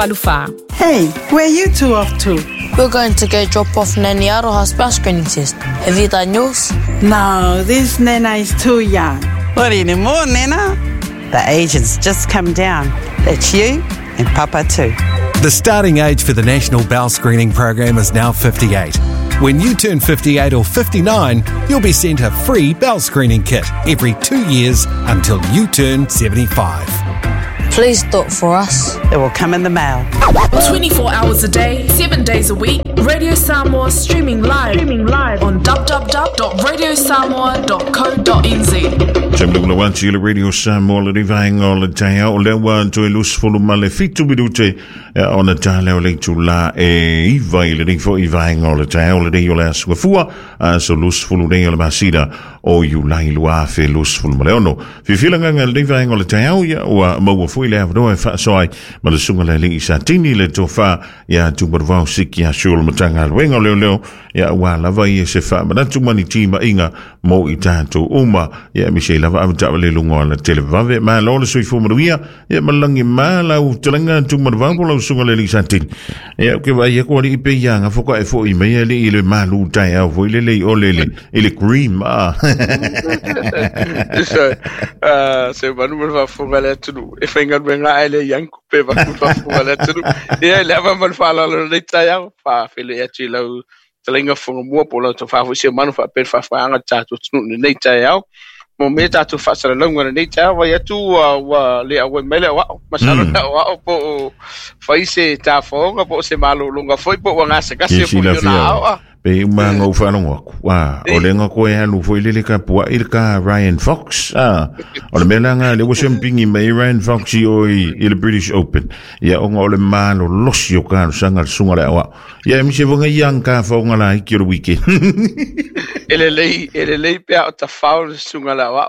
84. Hey, where you two off to? We're going to go drop off Nanny Aroha's bowel screening test. Have you done yours? No, this Nana is too young. Not anymore, Nana. The age has just come down. That's you and Papa too. The starting age for the National Bowel Screening Program is now 58. When you turn 58 or 59, you'll be sent a free bowel screening kit every 2 years until you turn 75. Please do it for us. It will come in the mail. 24 hours a day, 7 days a week, Radio Samoa streaming live on www.radiosamoa.co.nz. Tamalugula wati le Radio Samoa le rivaenga o le taeao o lea ua toe 27 minute ona tale o le itulā e 9 i lenei foi vaega o le taeao lenei o le aso Gafua, aso 20 nei o le masina o Iulai 2026. Fiafia lenei vaega o le taeao, ia ua maua foi le avanoa e faasoa ai ma le susuga le alii Satini le tofa ia Tumanuvao Siki Asu o le Matagaluega o Leoleo, ia ua lava ia se faamanatu ma ni timaiga mo i tatou uma, ia aemaise ai lava avetaavale i luga o le televavave. Malo le soifua manuia, ia malagi ma lau talaga Tumanuvao po lau susuga le alii Satini. Ia ke vai aku alii pe ia nga foka e foi mai alii i le malu taeao foi lelei o lele i le cream ah. So, se manu ma le faafofoga le atunuu e faigaluega ae le iangu pe vaku le faafofoga le atunuu. Ia le ava ma le faaaloalo lenei taeao faafeiloai atu i lau talaiga fogamua po o lau tofā foi se manu faapea le faafofoga le tatou atunuu lenei taeao. Mo mea tatou faasalalauga lenei taeao vai atu ua le auai mai le aoao. Masalo le aoao po o fai se tafaoga po o se malologa foi po ua gasegase Ke po i ona silafia aoa. Pe uma ngau whalongo aku. Ah, o le nga koe alu foi lele ka pua i le ka Ryan Fox. Ah, o le mea la nga le ua sempingi mai Ryan Fox i o i le British Open. Ia o nga o le malo losi o ka sanga le sunga le awa. Ia mi se vonga iang ka whaonga la iki o le weekend. E lelei pea o tafao le susuga le aoao.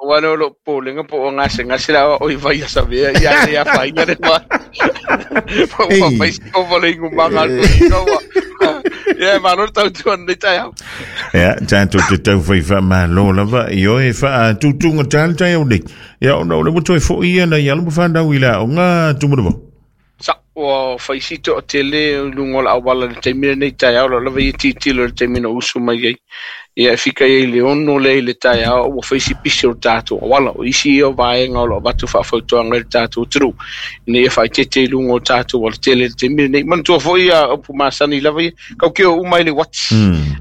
Ua le o loo popolega po o gasegase le aoao i vai asavea ia le afaina le ma po ua fai si ova le igumaga a le toeaina ua ia e malo le tautua lenei taeao. Ia, tātou te tau whai wha malo lava i oe wha tūtūnga tāle tai au nei. Ia, ona o le moto e fo ia na ia lumu whanau i la o ngā tūmanawa. Sa ua faisi toatele i luga o le auala i le taimi lenei taeao lo lava ia tilotilo i le taimi na usu mai ai. Ia e fika ai i le 6 lea i le taeao ua faisi pisi o le tatou auala. O isi ia o vaega o lo o avatu faafautuaga i le tatou atunuu ina ia faaeteete i luga o tatou alatele i le taimi lenei. Manatua foi ia upu masani lava ia, kaukeo uma i le uati.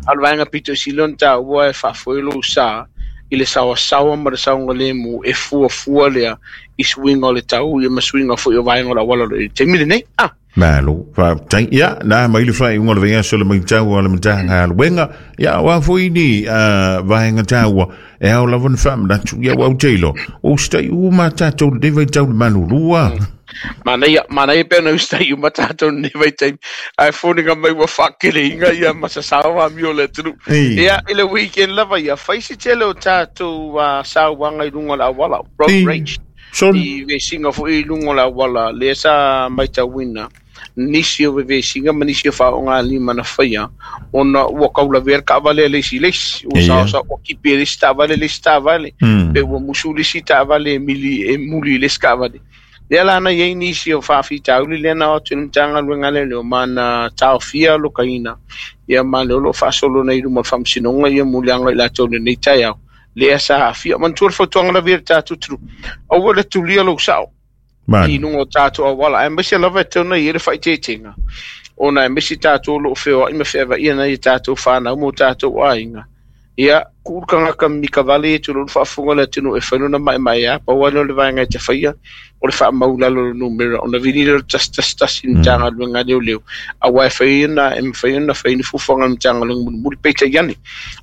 A o le vaega pito i sili ona taua e faafoe lou sa i le saoasaoa ma le saogalemu e fuafua lea i suiga o le tau ia ma suiga foi o vaega o le auala o lo o i le taimi lenei. Ah! Malo, faafetai. Ia, na mai le faaiuga o le vaiaso le matau a le Matagaluega. Ia, o a foi ni vaega taua e ao lava na faamanatu. Ia, ua ou te iloa, ua usitai uma tatou lenei vaitau le malulu. Manaia, manaia pe ona usitai uma tatou lenei vaitaimi. Ae foliga mai ua faakeleiga ia ma sasao amio o le atunuu. Ia, i le weekend lava ia, fai se tele o tatou sauaga i luga o le auala, road rage. Son. I vesiga foi i luga o le auala, lea sa matauina nisi o vevesiga ma nisi o faaogalima na faia, ona ua kaulavea le taavale a le isi i le isi. Ua saosa ua kipi e le isi taavale le isi taavale, pe ua musu le isi taavale e mili e muli i le isi taavale. Lea la na iai nisi o faafitauli lea na o atu i le Matagaluega a Leoleo ma na taofia alokaina ia ma le o lo o faasolo nei i luma o le faamasinoga ia muliaga i latou i lenei taeao lea sa aafia. Manatua le fautuaga lava ia le tatou atunuu, aua le tulia lou sao i luga o tatou auala, aemaise lava e tatau ona i ai le faaeteetega, ona aemaise tatou o lo o feoai ma feavaia nai a tatou fanau ma o tatou aiga. Ia, tuu le tagata mika vale e tulou le faafofoga o le atunuu e fai lona maemaea, pau lava lea o le vaega e te faia, o le faamau i lalo o le numera, ona vili lea o le 111 i le Matagaluega a Leoleo, aua e fai ona e mafai ona fai ni fuafuaga a le Matagaluega mulimuli. Peitai ane,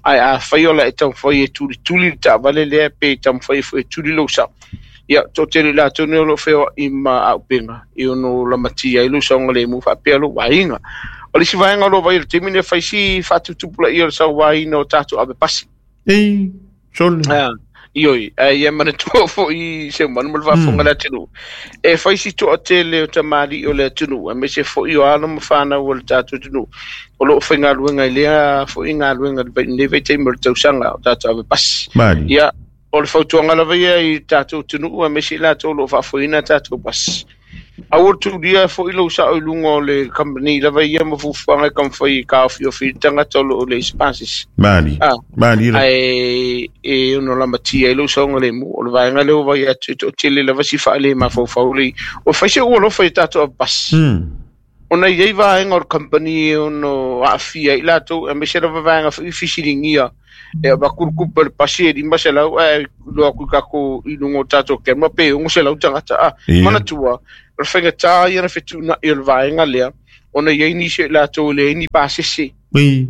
ae afai o le a e taumafai e tulituli le taavale lea pe taumafai foi e tuli lou sao, ia, toatele i latou nei o lo o feoai ma auupega e ono lamatia ai lou saogalemu faapea lou aiga. O le isi vaega o lo o vaai i le taimi lenei, fai si faatuputupulaia o le sauaina o tatou ave pasi. Ei, sole. Ah, ioi, ae ia manatua foi se manu ma le faafofoga le atunuu. E fai si toatele o tamalii o le atunuu, aemaise foi o alo ma fanau o le tatou atunuu o lo o faigaluega i lea foi galuega i lenei vaitaimi o le tausaga o tatou ave pasi. Ia, o le fautuaga lava ia i tatou atunuu aemaise i latou o lo o faafoeina tatou pasi. Aua le tuulia fo'i lou sa'o i luga o le kamupani lava ia ma fuafuaga e taumafai e taofiofi i le tagata o loo leai se pasese. Malie. Malie la. Ae e ono lamatia ai lou saogalemu. O le vaega lea ua vaai atu e toatele lava si faale mafaufau le o fai se ua alofa i tatou avepasi. Ona i ai vaega o le company e ono aafia ai latou, aemaise lava vaega foi fesiligia e avatu le tupe o le pasi e 500 ae iloa atu i tatou i luga o tatou camera pe 600 tagata. A manatua, o le faigata ia na fetuunai o le vaega lea, ona i ai nisi o i latou e leai ni pasese. E i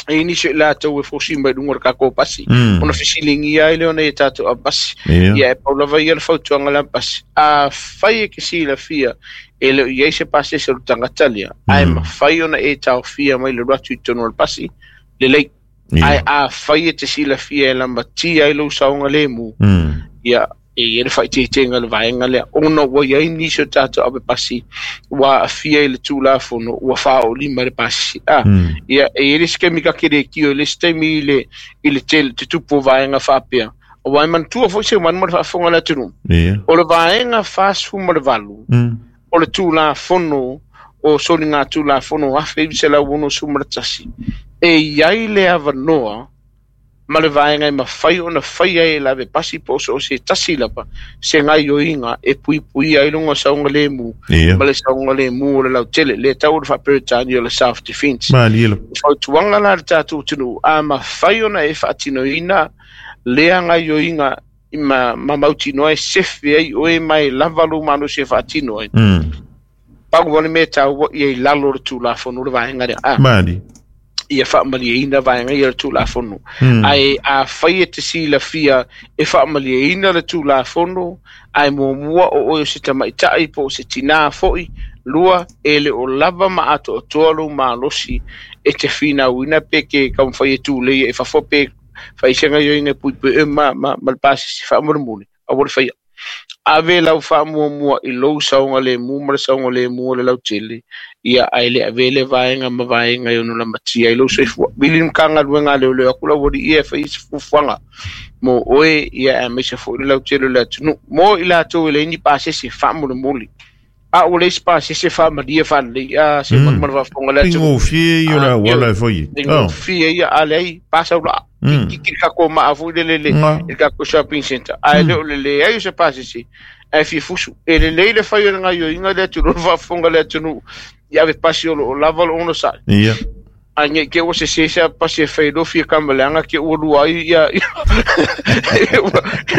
ai nisi o i latou e fosi mai luga o le tatou pasi, ona fesiligia ai lea ona i tatou avepasi. Ia e pau lava ia le fautuaga le avepasi. Afai e te silafia e le o i ai se pasese o le tagata lea, ae mafai ona e taofia mai le alu atu i totonu o le pasi, lelei. Ae afai e te silafia e lamatia ai lou saogalemu, ia e i ai le faaeteetega i le vaega lea, ona ua i ai nisi o tatou avepasi ua aafia i le Tulafono ua faaoolima i le pasese. A, ia, e i ai le isi taimi ta te le tio i le isi taimi i le, i le tele, te tupu o vaega faapea. Aua e manatua foi Seumanu ma le faafofoga a le atunuu, o le vaega 48 o le Tulafono o Soligatulafono 1961, e i ai le avanoa ma le vaega e mafai ona faia ai e le avepasi po o so o se tasi lava se gaoioiga e puipuia ai lona saogalemu ma le saogalemu o le lautele, lea e tau o le faa-Peretania o le self defense. Malie lava. O fautuaga la a le tatou atunuu, a mafai ona e faatinoina lea gaoioiga ma mautinoa e sefe ai oe ma e lava lou malosi e faatino ai, pau lava le mea e taua ia i lalo o le Tulafono le vaega lea. A. Malie. Ia faamalieina vaega ia o le Tulafono. Ae afai e te silafia e faamalieina le Tulafono, ae muamua o oe o se tamaitai po o se tinā foi, lua, e le o lava ma atoatoa lou malosi e te finauina pe ke taumafai e tulei i fafo pe fai se gaoioiga e puipui oe ma le pasese faamolemole, aua le faia. Ave lau faamuamua i lou saogalemu ma le saogalemu o le lautele, ia ae le avea le vaega ma vaega e ono lamatia ai lou soifua. Vili le Matagaluega a Leoleo atu lau alii e fai se fuafuaga mo oe, ia aemaise foi le lautele o le atunuu. Mo i latou e leai ni pasese faamolemole, a ua leai se pasese faamalie faalelei, a se manu ma le faafofoga o le atunuu. Faigofie ia o le auala e fai ai. Faigofie ia, a leai, pasa ula. Kiki le tatou maa foi lele i le tatou shopping center. Ae le o le leai o se pasese, ae fia fusu. E lelei le fai o le gaoioiga le atunuu, le faafofoga le atunuu, i ave pasi o loo lava le onosai. Ae nei te ua sese se pasi e fai loa fia kamaleaga te ua lua ai ia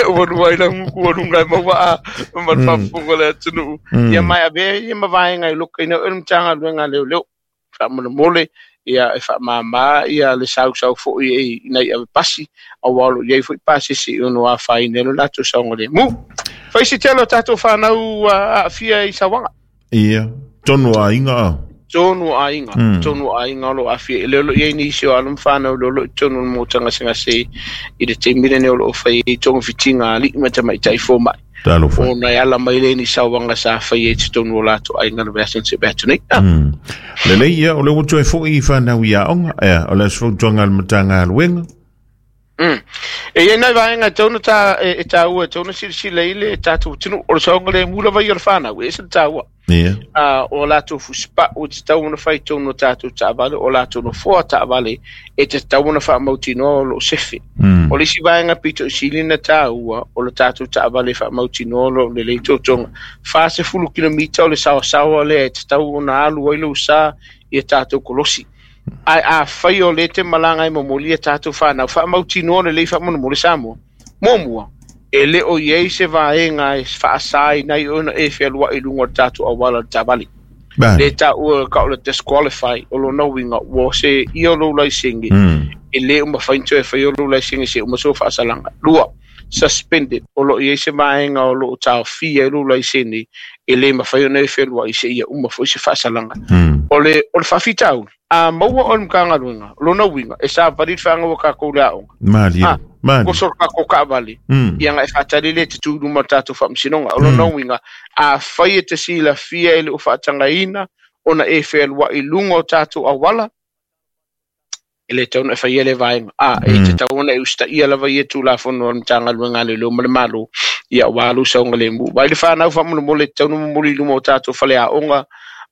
ua lua ai la nguku o lunga e maua a ma le faafofoga le atunuu. Ia mai avea ia ma vaega e lokaina oe le Matagaluega a Leoleo. Faamolemole, ia e faamāmā ia le sausau foi e ina i ave pasi, aua o lo o i ai foi pasese i ono afaina ai lo latou saogalemu. Fai se tele o tatou whanau aafia i sauaga. Ia, tonu aiga a. Tonu aiga, tonu aiga o lo o aafia. E le o lo o i ai nisi o alo ma whanau o lo o i tonu o le motagasegase i le taimi lenei o lo o fai ai togafitiga a alii ma tamaitai fomai. Talofa. Ona e ala mai le ni sauaga sa fai ai te tonu o latou aiga le vaiaso na seʻe atu nei. Lelei ia, o le ua toe foi i whanau i aoga, ea, o le aso fautuaga a le Matagaluega. E i ai nai vaega e tatau ona ta, e taua, e tatau ona silasila i le tatou atunuu. O le saogalemu lava ia o le whanau, e ese le taua. O latou fusipau e tatau ona fai tonu o tatou taavale, o latou nofoa taavale e tatau ona faamautinoa o loo sefe. O le isi vaega pito i sili na taua, o le tatou taavale e faamautinoa o loo lelei totoga. 40 kilomita o le saoasaoa lea e tatau ona alu ai lou sa i a tatou kolosi. Ae afai o le te malaga e momoli a tatou whanau, faamautinoa lelei faamolemole Samoa. Muamua, e le o i ai se vaega e faasaina ai ona e fealuai i luga o le tatou auala o le taavale. Le taua ka o le disqualify o lona uiga ua se ia o lou laisene, e le o mafai ona toe faia o lou laisene se uma sou faasalaga. Lua, suspended, o lo o i ai se vaega o lo o taofia ai lou laisene, e le mafai ona e fealuai se ia uma foi se faasalaga. O le faafitauli, a maua o le Matagaluega, lona uiga, e savali le whaangaua kākou le aoga. Malie, malie. Koso le kākou kaavale, ia nga e whaatali le te tū luma o le tātou whaamasinoga. O lona uiga, a fai e te silafia e le o whaatangaina, ona e whealua i lunga o tātou awala, e le tatau ona e faia le vaega. A, e tatau ona e usitaia lava ia Tulafono a le Matagaluega a Leoleo ma le Malo, Ia auā lou saogalēmū. Vai le fanau faamolemole e tatau ona momoli i luma o tatou faleaoga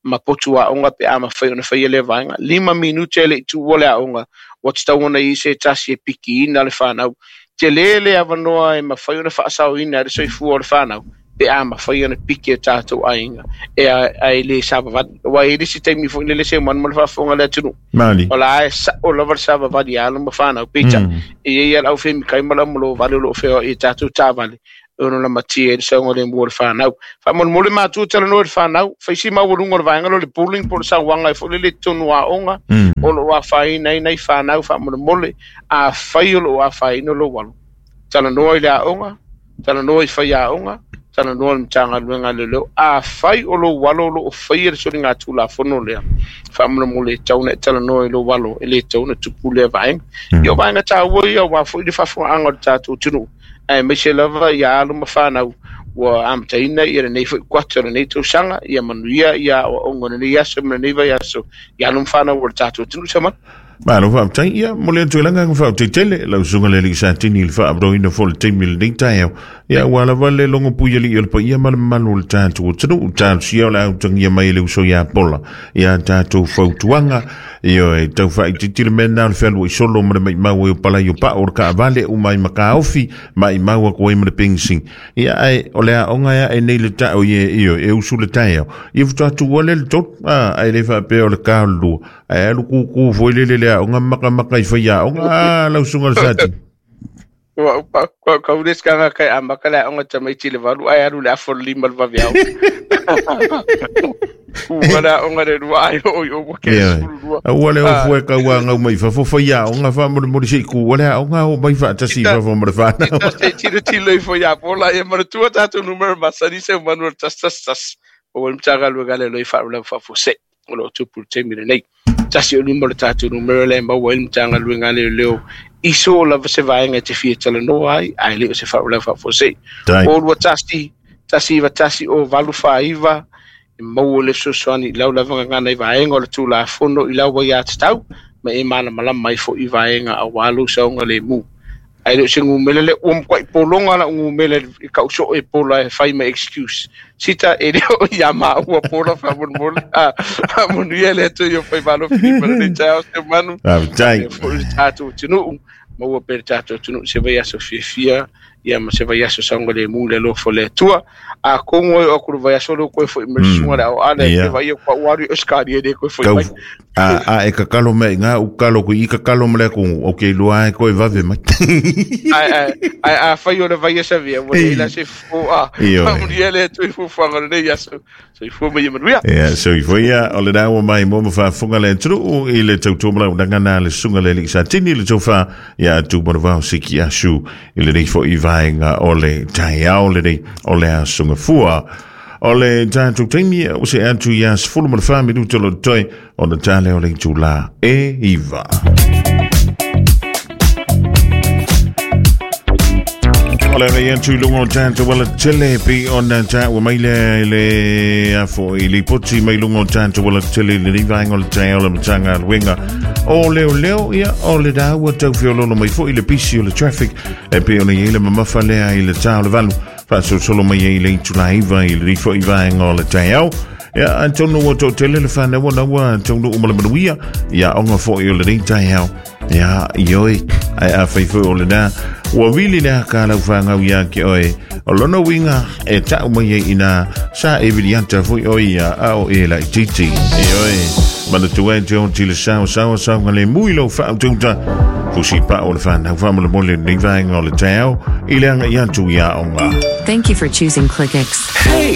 ma potu aoga pe a mafai ona faia lea vaega. 5 minute e le i tuua le aoga, ua tatau ona i ai se tasi e pikiina le fanau. Telē le avanoa e mafai ona faasaoina ai le soifua o le fanau pe a mafai ona piki e tatou aiga e ae le savavali. Aua e i ai le isi taimi foi lele Seumanu ma le faafofoga a le atunuu, o la e sao lava le savavali a alo ma fanau. Peitai, e i ai lava le aufemikai ma le aumalo vale o lo o feoai i tatou taavale e ono lamatia ai le saogalemu o le fanau. Faamolemole matua talanoa i le fanau, fai si maualuga o le vaega lea o le bullying po o le sauaga foi lele i totonu o aoga, o lo o afaina ai nai fanau. Faamolemole, afai o lo o afaina lou alo, talanoa i le aoga, talanoa i faiaoga, talanoa i le Matagaluega a Leoleo. Afai o lou alo o lo o faia le soligatulafono lea, faamolemole e tatau ona e talanoa i lou alo, e le tatau ona tupu lea vaega. Ia o vaega taua ia aua foi le faafofogaaga o le tatou atunuu, aemaise lava ia alo ma fanau ua amataina ia lenei foi kuata o lenei tausaga. Ia manuia ia aoaoga o lenei aso ma lenei vaiaso i alo ma fanau o le tatou atunuu. Saumanu. Malo faafetai. Ia, momoli atu ai le agaga faafetai tele lau susuga le alii Satini i le faaavanoaina foi o le taimi i lenei taeao. Ia, aua lava le logo puialii o le paia ma le mamalu o le tatou atunuu. Talosia o le a utagia mai e le uso ia Pola ia tatou fautuaga. Ioe, tau faaitiiti le mea lena o le fealuai solo ma le maimau ai o palai o pao o le taavale uma ai ma taofi, maimau atu ai ma le penisini. Ia, ae o le aoga e ae nei le tao i e, ioe, e usu le taeao. Ia faatoa tuua lea i le 3, a, ae le faapea o le ta o le 2. Ae alu kūkū foi lele le aoga makamaka i faiaoga. A, lau susuga i le Satini. Ua ua kau le skanga kai amaka le aoga tamaiti i le 8 ae alu i le afa o le 5 i le vaveao. Ua le aoga le 2 ai o i o ua ke Ioe. 12. Aua le ofu e kauāgau mai i fafo faiaoga faamolemole se i kū le aoga o mai faatasi i fafo ma le fanau. Ita se tiro tilo ifo ia Pola ia manatua tatou numera masani Seumanu o le 111. O le Matagaluega le loi faalavelave faafuasei o lo o tupu i le taimi lenei. Tasi o lima o le tatou numera lea e maua ai le Matagaluega a Leoleo i so lava se vaega e te fia talanoa ai, ae le o se faalavelave faafuasei. Tai. O 21 191 o 849 e maua le fesoasoani i lau lava gagana i vaega o le Tulafono i lau aiatatau ma e malamalama ai foi i vaega aua lou saogalemu. Ae le o se numera lea, ua matuai pologa lau numera i kau soo e Pola e fai ma excuse. Sita e le o ia maua Pola faamolemole. Ah, faamanuia le Atua i o faimalo filipa lenei taeao Seumanu. Faafetai. Faapea foi le tatou atunuu, maua pea le tatou atunuu se vaiaso fiafia ia ma se vaiaso saogalemu i le alofa o le Atua. Atonu e oo atu i le vaiaso lea ua toe foi mai le susuga i le aoale Ia. e vaai atu au alu i Ausetalia e le toe foi Tau, mai. a, a e kakalo mai i ngā u kalo ku i kakalo ma le atu, o ke lua e koe vave mai. Ae, ae, ae afai o le vaiaso avea, ua leai la se fofo, a, Ioe. faamanuia le Atua i fuafuaga o lenei aso. Soifua ma ia manuia. Ia, soifua ia, o lena ua mai mo ma faafofoga le atunuu i le tautua malaunaga na le susuga le alii Satini le tofa ia Tumanavao Siki Asu i lenei foi vaega o le taeao lenei o le aso Gafua. O le tatou taimi ua see atu ia 14 minuta o lo o totoe ona ta lea o le itulā e 9. O le agai atu i luga o tatou alatele pe ona taua mai lea i le afo i lipoti mai luga o tatou alatele i lenei vaega o le taeao o le Matagaluega o Leoleo. Ia, o le ua tau feololo mai foi le pisi o le traffic e pei ona i ai le mamafa lea i le ta o le 8 faasolosolo mai ai i le itulā 9 i lenei foi vaega o le taeao. Ia, atonu ua toatele le fanau ona ua taunuu ma le manuia ia aoga foi o lenei taeao. Ia, ioe, ae afai foi o lena ua vili le aka a lau fanau ia te oe, o lona uiga e tau mai ai ina sa e viliata foi oe ia a o e laitiiti. Ioe, manatua e te oti le sao sao saogalemu i lou faautauta fusi pao o le fanau faamolemole lenei vaega o le taeao i le agai atu i aoga. Thank you for choosing ClickX. Hey!